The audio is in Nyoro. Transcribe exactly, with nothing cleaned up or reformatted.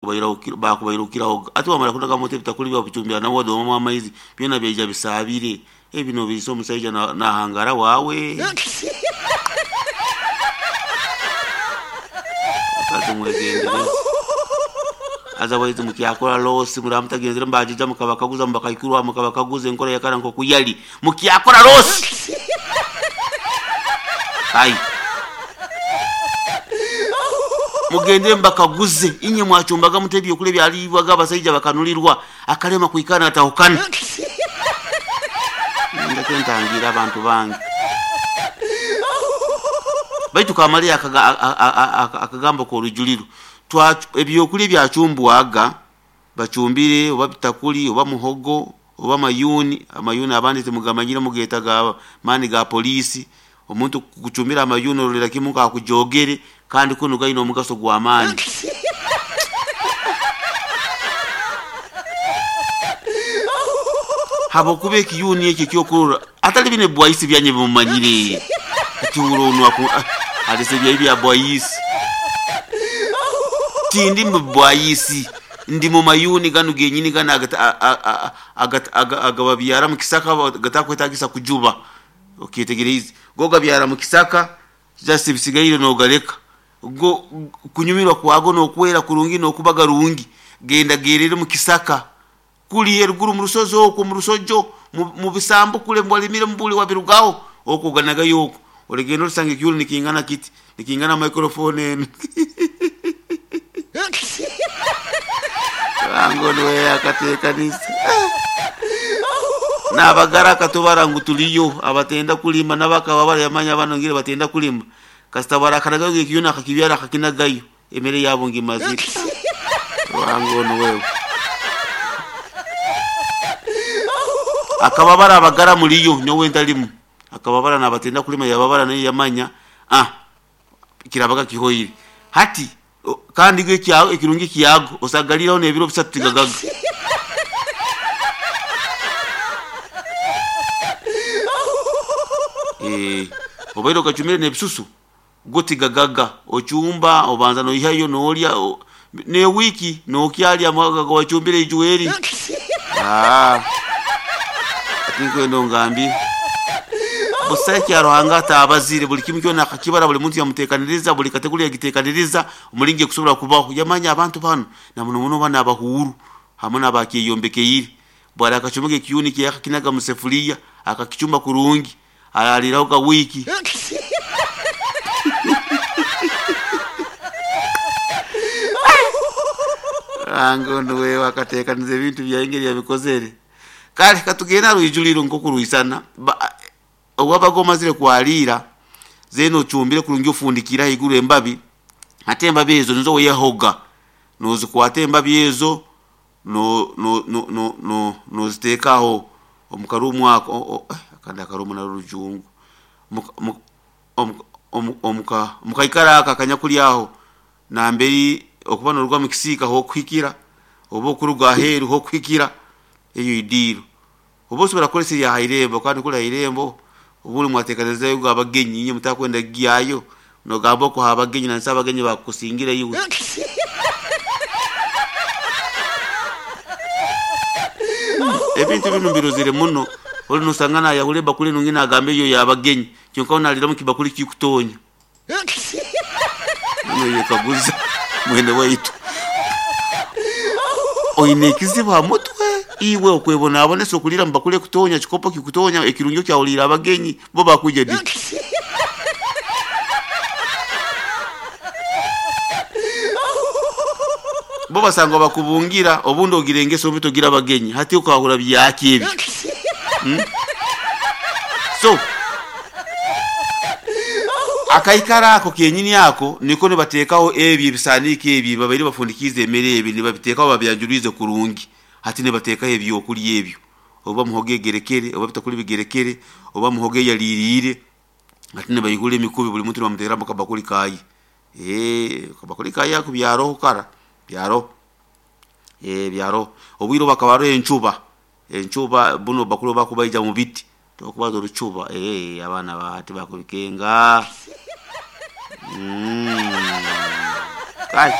Bakubairukirahoga ati wamara kunaga moto ebitakuli babicumbira nawe wadomamu amaizi byona byaija bisaabire ebi nobiisa omusaija nahangara waawe. Mukazi mwegendereze, haza baitu mukyakora losi muraba mutagenzere mubajija mukabakaguza mubakaikuru mukabakaguza enkora yakara nkoku yali mukyakora losi. Ai mugende mbakaguze, inye mwachumbaga mute ebyokulya ebyaliibwaga abasaija bakanulirwa akalema kwikara natahukana. Ndeke ntangiire abantu bange. Baitu kamaliyo akagambo k'orujuliro, ebyokulya ebyacumbwaga bacumbire oba bitakuli oba muhogo oba mayuuni, amayuuni abandi timugamanyire mugeeta ga maani ga poliisi, omuntu kukucumbira amayuuni orolera kimu nk'akujogere kandi kunu gaine omugaso gw'amaani. Habwokuba ekiyuuni eki ekyokurora atali binu ebibwaisi byanyu ebimumanyire, ati hura onu aleese ebyahi bya bwaisi. Tindi mu bibwaisi, ndi mu mayuuni ganu genyini ganu agababyara mu kisaka gatakwetaagisa kujuba, okyetegeriize. Go gabyara mu kisaka just ebisigaire noogaleka. Go kunyumirwa kwago n'okwera kurungi n'okuba garungi, genda geerere mu kisaka kuli eruguru mu rusozi okwo mu rusojo mu bisambu kule walimire mubuli wabirugaho okwo oganagayo okwo, oligenda olisanga ekiyuuni nikingana kiti, nikingana microphone enu. Ruhanga onu we akateekaniza. N'abagara akatubara ngu tuliyo abatenda kulima n'abakaba barayamanya banu ngire batenda kulima, kasita barakanagayo ekiyuuni akakibyara akakinagayo, emere yabo ngimazire. Ruhanga onu wewe. Akababara abagara muliyo nyowe ntalimu, akababara n'abatenda kulima yababara nayo yamanya ah kirabaga kihoire. Hati kandi go ekirungi kyago osagaliraho n'ebiro bisatu tigagaga. Obaire okacumire n'ebisusu go tigagaga, ocumba obanza noihayo noolya n'ewiiki nookyalya ago wacumbire ijweri. Tinkwenda ongambire. Busaho ekya Ruhanga ataabazire, buli kimu kyona akakibara, buli muntu yamuteekaniriza, buli kategori yagiteekaniriza omulingo ekusobora kubaho. Yamanya abantu banu na muno muno banu abahuuru hamu n'abakyeyombekeyire. Bwara akacumaga ekiyuuni kye akakinaga mu sefuliya akakicumba kurungi, araliiraho ka wiiki. Ruhanga onu wewe akateekaniza ebintu byawe engeri yabikozere. Kale katugende ha rwijuliro nkoku rwisana, obu wabaga omazire kwaliira, then ocumbire kurungi ofundikiire haiguru embabi, hati embabi ezo nizo weehoga, noozikwata embabi ezo nooziteeka aho omu karuumu ako, kandi akaruumu narwo rujungu, omu kaikaro ako akanyakuli aho nambere okuba nooruga mukisiika hokuhikira oba okuruga aheeru hokuhikira, eyo idiiro. Oba osobora kukozesa eya hairembo kandi kuli hairembo obundi mwateekanizayo abagenyi inywe mutakwenda kugyayo, noogamba okwo h'abagenyi nangisa abagenyi baakukusingire iwe. Ebintu binu mbirozere muno, oli noosanga naayahura ebakuli enungi naagamba eyo y'abagenyi kyonka we naaliiramu ekibakuli kikutonya. Noyekaguza mwene waitu, oine ekizibu ha mutwe? Iwe okwebonabonesa okuliira mu bakuli ekutonya, kikopo kikutonya, ekirungi okyahuliire abagenyi, bo bakwija di? Bo basangwa bakubungira obundi ogira engeso mbi togira abagenyi, hati okahura byaki ebyo? So akaikaro ako kenyini ako niko nibateekaho ebi ebisaaniiko ebi babaire bafundikiize emere ebi nibabiteekaho babyanjulwize kurungi, hati nibateekaho ebyokulya ebyo, oba muhogo egerekere oba bitakuli bigerekere oba muhogo eyaliiriire, hati nibaihura emikubi buli muntu nibamuteeramu akabakuli kaye. Akabakuli kaye ako byaroho kara, byaroho, byaroho. Obwire obu hakaba haroho encuba, encuba bunu obubakuli obu bakubaija mu biti, tokubaza orucuba, abaana ba hati bakubikenga. Kale.